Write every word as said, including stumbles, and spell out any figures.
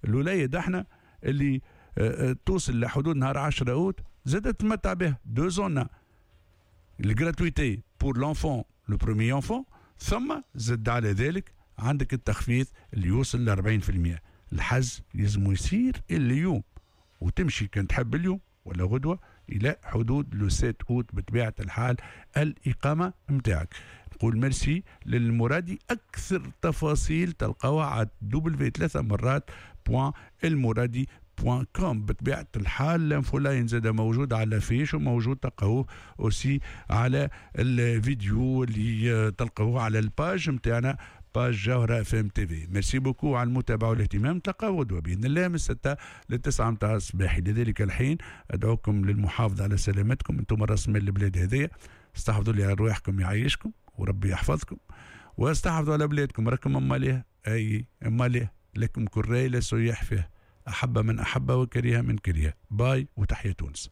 الوليد احنا اللي آه، آه، توصل لحدود نهار عشرة اوت زادت تمتع به deux en un، ال gratuité pour l'enfant، le premier enfant، ثم زد على ذلك عندك التخفيض اللي يوصل ل أربعين في المية. الحجز لازم يصير اليوم، وتمشي كان تحب اليوم ولا غدوه الى حدود le sept août. بطبيعة الحال الاقامة نتاعك. نقول ميرسي للمرادي. اكثر تفاصيل تلقاوها على W ثلاثة مرات point المرادي point com. بطبيعة الحال l'infoline زاد موجود على l'affiche، وموجود تلقاوه aussi على الفيديو اللي تلقاوه على ال page نتاعنا، page جوهرة اف ام تي في. merci beaucoup على المتابعة والاهتمام. نتلقاو غدوة بإذن الله من ستة ل تسعة متاع الصباح. لذلك الحين أدعوكم للمحافظة على سلامتكم، انتم راس مال البلاد هذيا. استحفظوا لي على ارواحكم يعيشكم وربي يحفظكم، واستحفظوا على بلادكم، راكم اماليه، اي اماليه، لكم كراي لا سياح فيه. احب من احب وكره من كره. باي وتحيا تونس.